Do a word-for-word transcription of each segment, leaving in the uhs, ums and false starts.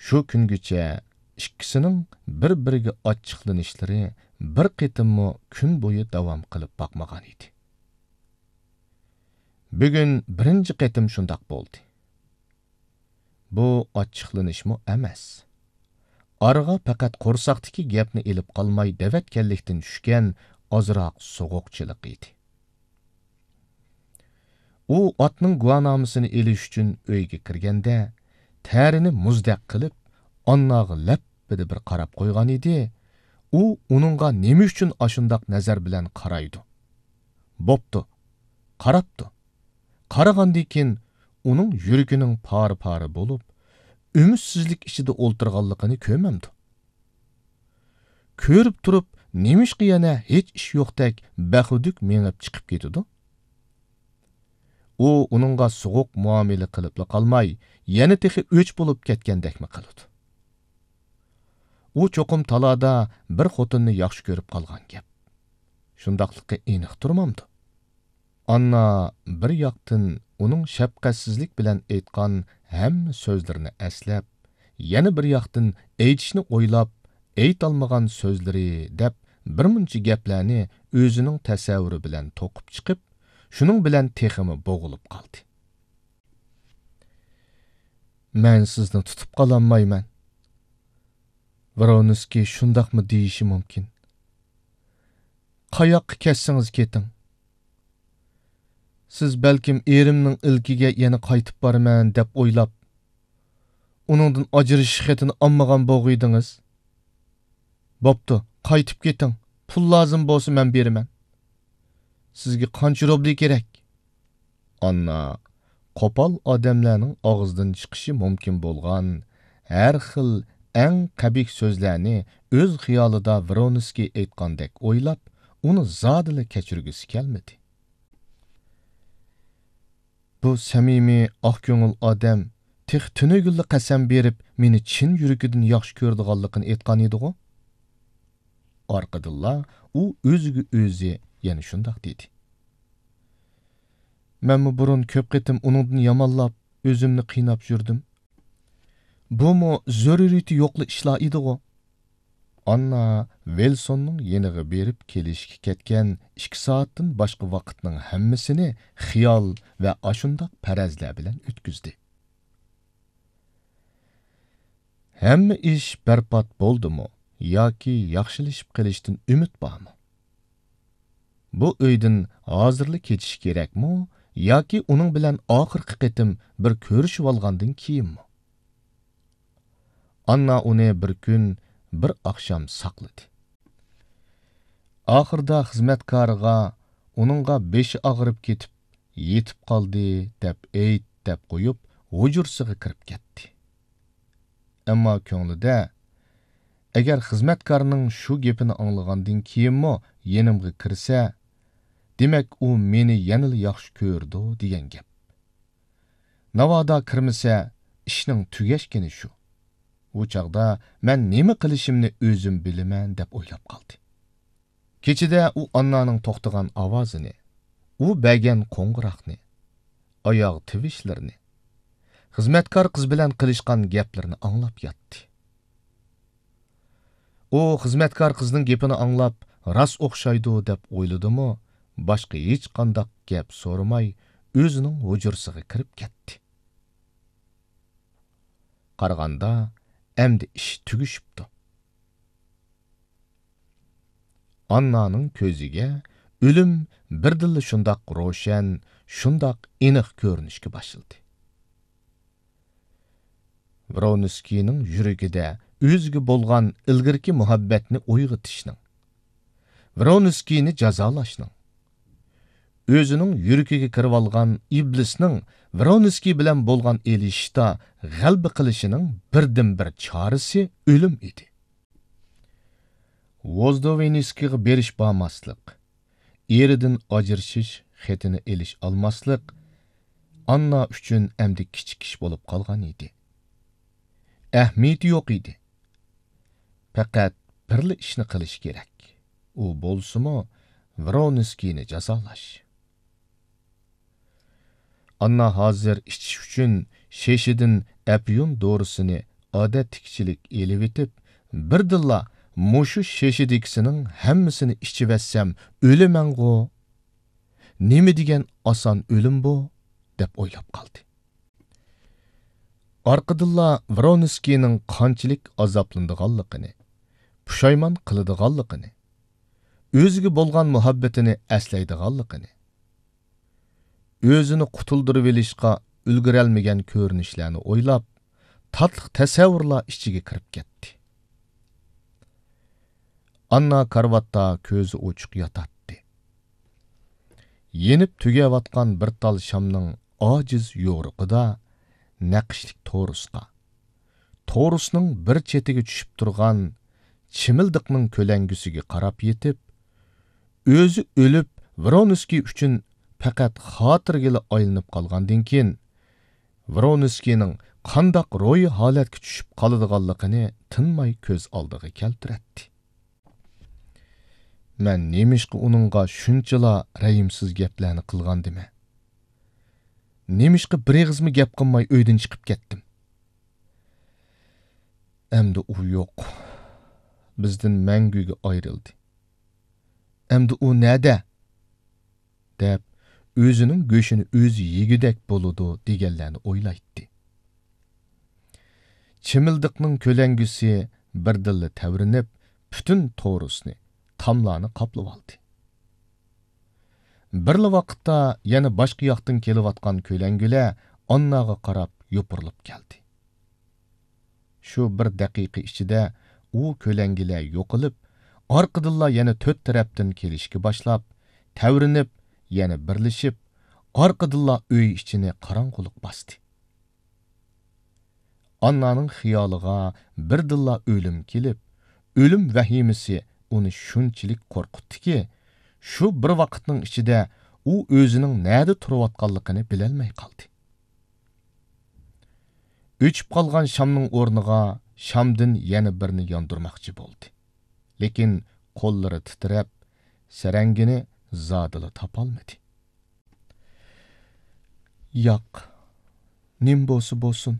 شۇ كۈنگىچە ئىككىسىنىڭ بىر-بىرىگە ئاچچىقلىنىشلىرى بىر قېتىممۇ كۈن بويى داۋام قىلىپ باقمىغان ئىدى. بۈگۈن بىرىنچى قېتىم شۇنداق بولدى. بۇ ئاچچىقلىنىشمۇ ئەمەس. ئارىغا پەقەت قورساقتىكى گەپنى ئېلىپ قالماي دەۋەتكەنلىكتىن چۈشكەن ئازراق سوغۇقچىلىق ئىدى. ئۇ ئاتنىڭ گۇۋاھنامىسىنى ئېلىش ئۈچۈن ئۆيگە كىرگەندە، تەرىنى مۇزدەك قىلىپ، ئانناغا لەپپىدە بىر قاراپ قويغان ئىدى. ئۇ ئۇنىڭغا نېمە ئۈچۈن ئاشۇنداق نەزەر بىلەن قارايدۇ؟ بوپتۇ، قاراپتۇ. قارىغاندىن كېيىن ئۇنىڭ يۈرىكىنىڭ پارە-پارە بولۇپ، ئۈمىدسىزلىك ئىچىدە ئولتۇرغانلىقىنى كۆرمەمدۇ؟ كۆرۈپ تۇرۇپ، نېمىشقا يەنە ھېچ ئىش يوقتەك بەخۇدۈك مېڭىپ چىقىپ كېتىدۇ؟ ئۇ ئۇنىڭغا سوغۇق مۇئامىلە قىلىپلا قالماي، يەنە تېخى ئۆچ بولۇپ كەتكەندەكمۇ قىلىدۇ. ئۇ چوقۇم تالادا بىر خوتۇننى ياخشى كۆرۈپ قالغان گەپ. شۇنداقلىقى ئېنىق تۇرمامدۇ؟ ئاننا بىر ياقتىن ئۇنىڭ شەپقەتسىزلىك بىلەن ئېيتقان ھەممە سۆزلىرىنى ئەسلەپ، يەنە بىر ياقتىن ئېيتىشنى ئويلاپ، ئېيتالمىغان سۆزلىرى دەپ بىر مۇنچە گەپلەرنى ئۆزىنىڭ تەسەۋۋۇرى بىلەن توقۇپ چىقىپ، شۇنىڭ بىلەن تېخىمۇ بوغۇلۇپ قالدى. مەن سىزنى تۇتۇپ قالالمايمەن. ۋرونسكىي شۇنداقمۇ دېيىشى مۇمكىن. قاياققا كەتسىڭىز كېتىڭ. سىز بەلكىم ئېرىمنىڭ ئىلكىگە يەنە قايتىپ بارىمەن دەپ ئويلاپ، ئۇنىڭدىن ئاجرىشىش خېتىنى ئالمىغان بوغۇيدىڭىز. بوپتۇ، قايتىپ كېتىڭ. پۇل لازىم بولسا مەن بېرىمەن. سىزگە قانچە روبلى كېرەك؟ ئاننا قوپال ئادەملەرنىڭ ئاغزىدىن چىقىشى مۇمكىن بولغان ھەر خىل ئەڭ قەبىھ سۆزلەرنى ئۆز خىيالىدا ۋرونسكىي ئېيتقاندەك ئويلاپ، ئۇنى زادىلا كەچۈرگۈسى كەلمىدى. بۇ سەمىمىي، ئاق كۆڭۈل ئادەم تېخى تۈنۈگۈنلا قەسەم بېرىپ، مېنى چىن يۈرىكىدىن ياخشى كۆرىدىغانلىقىنى ئېيتقان ئىدىغۇ؟ ئارقىدىنلا ئۇ ئۆزىگە ئۆزى يەنە شۇنداق دېدى. مەنمۇ بۇرۇن كۆپ قېتىم ئۇنىڭدىن يامانلاپ، ئۆزۈمنى قىيناپ يۈردۈم. بۇمۇ زۆرۈرىيىتى يوقلا ئىشلار ئىدىغۇ؟ ئاننا ۋىلسوننىڭ يېنىغا بېرىپ كېلىشكە كەتكەن ئىككى سائەتتىن باشقا ۋاقىتنىڭ ھەممىسىنى خىيال ۋە ئاشۇنداق پەرەزلەر بىلەن ئۆتكۈزدى. ھەممە ئىش بەربات بولدىمۇ ياكى ياخشىلىشىپ قېلىشتىن ئۈمىد بارمۇ؟ بۇ ئۆيدىن ھازىرلا كېتىشى كېرەكمۇ ياكى ئۇنىڭ بىلەن ئاخىرقى قېتىم بىر كۆرۈشۈۋالغاندىن كېيىنمۇ؟ ئاننا ئۇنى بىر كۈن، بىر ئاخشام ساقلىدى. ئاخىرىدا خىزمەتكارىغا ئۇنىڭغا بېشى ئاغرىپ كېتىپ، يېتىپ قالدى دەپ ئېيت دەپ قويۇپ، ھۇجرىسىغا كىرىپ كەتتى. ئەمما كۆڭلىدە، ئەگەر خىزمەتكارنىڭ شۇ گېپىنى ئاڭلىغاندىن كېيىنمۇ يېنىمغا كىرسە، دېمەك، ئۇ مېنى يەنىلا ياخشى كۆرىدۇ دېگەن گەپ. ناۋادا كىرمىسە، ئىشنىڭ تۈگەشكىنى شۇ. ئۇ چاغدا مەن نېمە قىلىشىمنى ئۆزۈم بىلىمەن، دەپ ئويلاپ قالدى. كېچىدە ئۇ ئاننانىڭ توختىغان ئاۋازىنى، ئۇ بەرگەن قوڭغۇراقنى، ئاياغ تىۋىشلىرىنى، خىزمەتكار قىز بىلەن قىلىشقان گەپلىرىنى ئاڭلاپ ياتتى. ئۇ خىزمەتكار قىزنىڭ گېپىنى ئاڭلاپ، راست ئوخشايدۇ دەپ ئويلىدىمۇ، باشقا ھېچقانداق گەپ سورىماي، ئۆزىنىڭ ھۇجرىسىغا كىرىپ كەتتى. قارىغاندا، ئەمدى ئىش تۈگىشىپتۇ. ئاننانىڭ كۆزىگە ئۆلۈم بىردىنلا شۇنداق روشەن، شۇنداق ئېنىق كۆرۈنۈشكە باشلىدى. ۋرونسكىينىڭ يۈرىكىدە ئۆزىگە بولغان ئىلگىرىكى مۇھەببەتنى ئويغىتىشنىڭ، ۋرونسكىينى جازالاشنىڭ، ئۆزىنىڭ يۈرىكىگە كىرىۋالغان ئىبلىسنىڭ ۋرونسكىي بىلەن بولغان ئېلىشىشتا غەلىبە قىلىشىنىڭ بىردىنبىر چارىسى ئۆلۈم ئىدى. ۋوزدوۋېنسكىيغا بېرىش بارماسلىق، ئېرىدىن ئاجرىشىش خېتىنى ئېلىش ئالماسلىق ئاننا ئۈچۈن ئەمدى كىچىك ئىش بولۇپ قالغان ئىدى. ئەھمىيىتى يوق ئىدى. پەقەت بىرلا ئىشنى قىلىش كېرەك. ئۇ بولسىمۇ ۋرونسكىينى جازالاش. ئاننا ھازىر ئىچىش ئۈچۈن شېشىدىن ئەپيۈن دورىسىنى ئادەتتىكىچىلىك ئېلىۋېتىپ، بىردىنلا مۇشۇ شېشىدىكىسىنىڭ ھەممىسىنى ئىچىۋەتسەم ئۆلىمەنغۇ؟ نېمە دېگەن ئاسان ئۆلۈم بۇ؟ دەپ ئويلاپ قالدى. ئارقىدىنلا ۋرونسكىينىڭ قانچىلىك ئازابلىنىدىغانلىقىنى، پۇشايمان قىلىدىغانلىقىنى، ئۆزىگە بولغان مۇھەببىتىنى ئەسلەيدىغانلىقىنى، ئۆزىنى قۇتۇلدۇرۇۋېلىشقا ئۈلگۈرەلمىگەن كۆرۈنۈشلەرنى ئويلاپ، تاتلىق تەسەۋۋۇرلار ئىچىگە كىرىپ كەتتى. ئاننا كارىۋاتتا كۆزى ئوچۇق ياتاتتى. يېنىپ تۈگەۋاتقان بىر تال شامنىڭ ئاجىز يورۇقىدا نەقىشلىك تورۇسقا، تورۇسنىڭ بىر چېتىگە چۈشۈپ تۇرغان چىمىلدىقنىڭ كۆلەڭگىسىگە قاراپ يېتىپ، ئۆزى ئۆلۈپ، ۋرونسكىي ئۈچۈن پەقەت خاتىرىگىلا ئايلىنىپ قالغاندىن كېيىن، ۋرونسكىينىڭ قانداق روھىي ھالەتكە چۈشۈپ قالىدىغانلىقىنى تىنماي كۆز ئالدىغا كەلتۈرەتتى. مەن نېمىشقا ئۇنىڭغا شۇنچىلا رەھىمسىز گەپلەرنى قىلغاندىمەن؟ نېمىشقا بىر ئېغىزمۇ گەپ قىلماي ئۆيدىن چىقىپ كەتتىم؟ ئەمدى ئۇ يوق. بىزدىن مەڭگۈگە ئايرىلدى. ئەمدى ئۇ نەدە؟ دەپ، ئۆزىنىڭ گۆشىنى ئۆزى يېگۈدەك بولىدۇ دېگەنلەرنى ئويلايتتى. چىمىلدىقنىڭ كۆلەڭگىسى بىردىنلا تەۋرىنىپ، پۈتۈن تورۇسنى، تاملارنى قاپلىۋالدى. بىرلا ۋاقىتتا يەنە باشقا ياقتىن كېلىۋاتقان كۆلەڭگىلەر ئانناغا قاراپ يوپۇرۇلۇپ كەلدى. شۇ بىر دەقىقە ئىچىدە ئۇ كۆلەڭگىلەر يوقىلىپ، ئارقىدىنلا يەنە تۆت تەرەپتىن كېلىشكە باشلاپ، تەۋرىنىپ، يەنە بىرلىشىپ، ئارقىدىنلا ئۆي ئىچىنى قاراڭغۇلۇق باستى. ئاننانىڭ خىيالىغا بىردىنلا ئۆلۈم كېلىپ، ئۆلۈم ۋەھىمىسى ئۇنى شۇنچىلىك قورقۇتتىكى، شۇ بىر ۋاقىتنىڭ ئىچىدە ئۇ ئۆزىنىڭ نەدە تۇرۇۋاتقانلىقىنى بىلەلمەي قالدى. ئۆچۈپ قالغان شامنىڭ ئورنىغا شامدىن يەنە بىرنى ياندۇرماقچى بولدى. لېكىن قوللىرى تىترەپ، سەرەڭگىنى زادىلا تاپالمىدى. ياق، نېمە بولسا بولسۇن،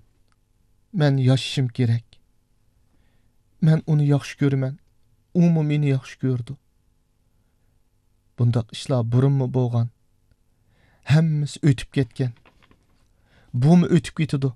مەن ياشىشىم كېرەك. مەن ئۇنى ياخشى كۆرىمەن، ئۇمۇ مېنى ياخشى كۆرىدۇ. بۇنداق ئىشلار بۇرۇنمۇ بولغان. ھەممىسى ئۆتۈپ كەتكەن. بۇمۇ ئۆتۈپ كېتىدۇ.